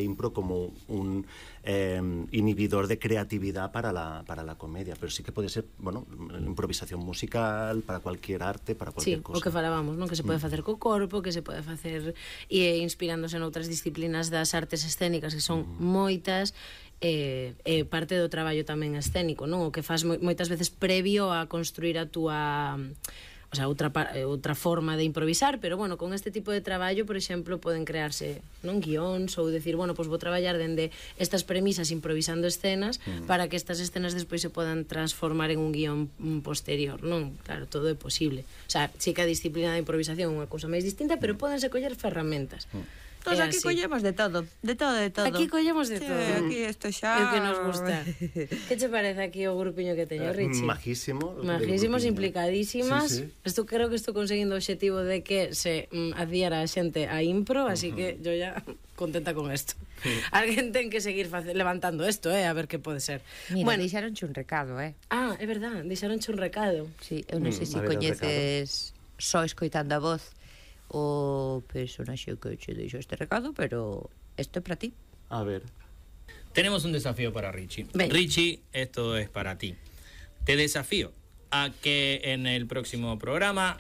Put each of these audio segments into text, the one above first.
impro como un inhibidor de creatividad para la comedia, pero sí que pode ser, bueno, improvisación musical para cualquier arte, para cualquier cosa. Sí, o que falábamos, non? Que se pode facer co corpo, que se pode facer inspirándose noutras disciplinas das artes escénicas, que son moitas, parte do traballo tamén escénico, non? O que faz moitas veces previo a construir a túa... O sea, outra forma de improvisar, pero bueno, con este tipo de traballo, por exemplo, poden crearse non guións ou decir, bueno, pois vou traballar dende estas premisas improvisando escenas para que estas escenas despois se podan transformar en un guión posterior, non? Claro, todo é posible. O sea, sí que a disciplina de improvisación é unha cousa máis distinta, pero podense coller ferramentas. Pues aquí collemos de todo, de todo. Aquí collemos de todo. Aquí isto xa... É o que nos gusta. Que che parece aquí o grupiño que teño, Richie? Majísimos, implicadísimas. Creo que estou conseguindo o obxectivo de que se adhiera a xente a impro, así que yo ya contenta con esto. Alguén ten que seguir levantando isto, a ver que pode ser. Mira, deixaronche un recado, Ah, é verdad, deixaronche un recado. Sí, eu non sei se coñeces só escoitando a voz o personaxe que che deixo este recado, pero esto é para ti. A ver. Tenemos un desafío para Richie. Ven. Richie, esto es para ti. Te desafío a que en el próximo programa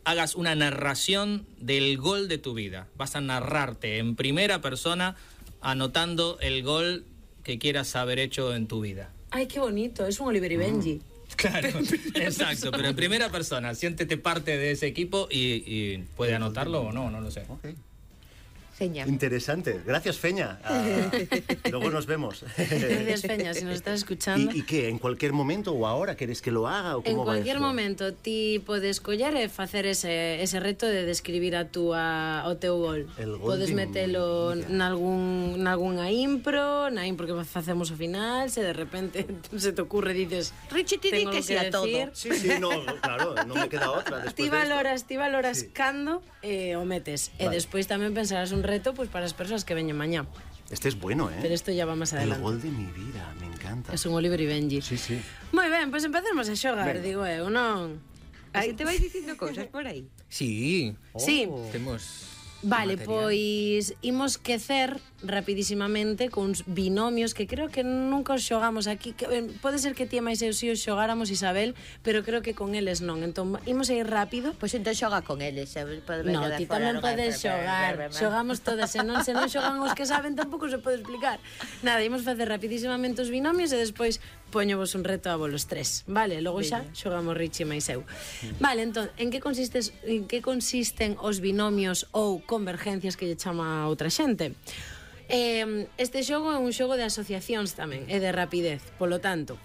hagas una narración del gol de tu vida. Vas a narrarte en primera persona anotando el gol que quieras haber hecho en tu vida. Ay, qué bonito, es un Oliver y Benji. Claro, exacto, pero en primera persona, siéntete parte de ese equipo y puede anotarlo o no, no lo sé. Okay. Feña. Interesante, gracias Feña. Luego nos vemos. Gracias Feña, si nos estás escuchando. ¿Y qué? ¿En cualquier momento o ahora queres que lo haga? ¿O cómo en va cualquier esto? momento ti podes coller e facer ese reto de describir o teu gol. Podes metelo nalgúnha impro, na impro que facemos ao final, se de repente se te ocurre dices, Richie, ti di que sea todo. Sí, no, claro, non me queda otra. Ti valoras sí. Cando o metes. Vale. E despois tamén pensarás un reto pues, para as persoas que veñen mañá. Este es bueno, Pero esto ya va más adelante. El gol de mi vida, me encanta. Es un Oliver y Benji. Sí. Moi ben, pues empecemos a xogar, digo eu, non? Aí te vais dicindo cousas por aí. Sí. Sí. Temos... Vale, material. Pois imos quecer rapidísimamente cuns binomios que creo que nunca os xogamos aquí, que, pode ser que ti e máis eu si os xogáramos, Isabel, pero creo que con eles non. Entón, imos a ir rápido. Pois entón xoga con eles, sabes? No, ti tamén podes xogar. Xogamos todas, se non xogan os que saben tampouco se pode explicar. Nada, imos facer rapidísimamente os binomios e despois poñovos un reto a volos tres, vale? Logo xa xogamos Richie máis eu. Vale, entón, en que consisten os binomios ou convergencias que lle chama a outra xente? Este xogo é un xogo de asociacións tamén, e de rapidez, polo tanto,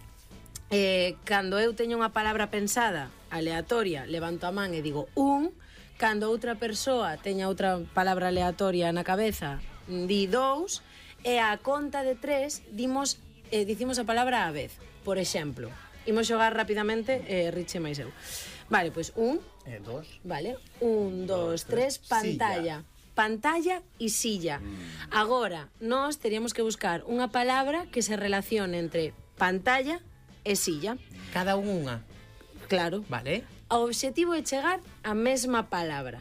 cando eu teño unha palabra pensada aleatoria, levanto a man e digo un, cando outra persoa teña outra palabra aleatoria na cabeza, di dous, e a conta de tres dicimos a palabra á vez. Por exemplo, imos xogar rapidamente Richie máis eu. Vale, pois un, dos. Vale, un, dos, tres, pantalla. Pantalla e silla. Agora, nós teríamos que buscar unha palabra que se relacione entre pantalla e silla. Cada unha. Claro. Vale. O obxectivo é chegar á mesma palabra.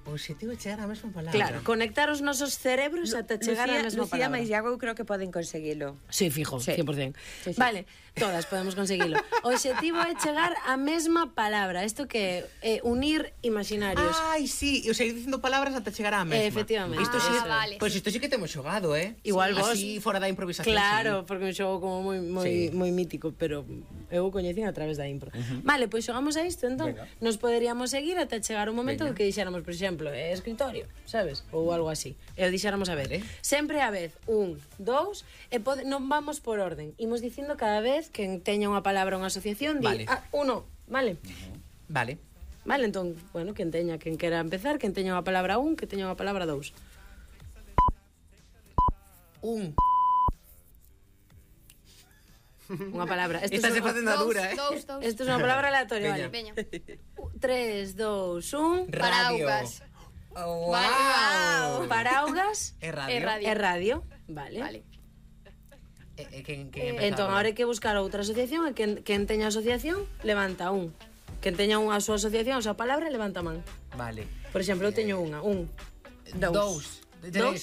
O obxectivo é chegar á mesma palabra. Claro, conectar os nosos cerebros ata chegar á mesma Lucía palabra. máis Iago eu creo que poden conseguilo. Sí, fijo, Sí. 100%. Sí. Vale, todas podemos conseguilo. O obxectivo é chegar á mesma palabra. Isto que é unir imaginarios. Ai, sí, e o seguir dicindo palabras ata chegar á mesma. Efectivamente. Isto sí, vale. Pois isto sí que temos xogado, Igual vos. Así fora da improvisación. Claro, sí. porque é un xogo como moi mítico, pero eu o coñecín a través da impro. Vale, pois xogamos a isto, entón. Venga. Nos poderíamos seguir ata chegar un momento Venga. que dixéramos, por exemplo, escritorio, sabes? Ou algo así. E o dixéramos a ver. Vale. Sempre a vez, un, dous, e non vamos por orden. Imos dicindo cada vez que teña unha palabra ou unha asociación, di, Vale. uno, vale? Vale. Vale, entón, bueno, quen quera empezar, quen teña unha palabra un, que teña unha palabra dous. Un. Unha palabra. Esta se facendo a dura, Dous. Isto é unha palabra aleatoria, vale. Veña. 3, 2, 1... Paraugas. Wow. Paraugas É radio. É radio. e radio. Vale. Vale. Entón, agora hai que buscar outra asociación e quen teña asociación, levanta un. Quen teña unha súa asociación, a súa palabra, levanta a man. Vale. Por exemplo, eu teño unha. Un. Dous. Dous?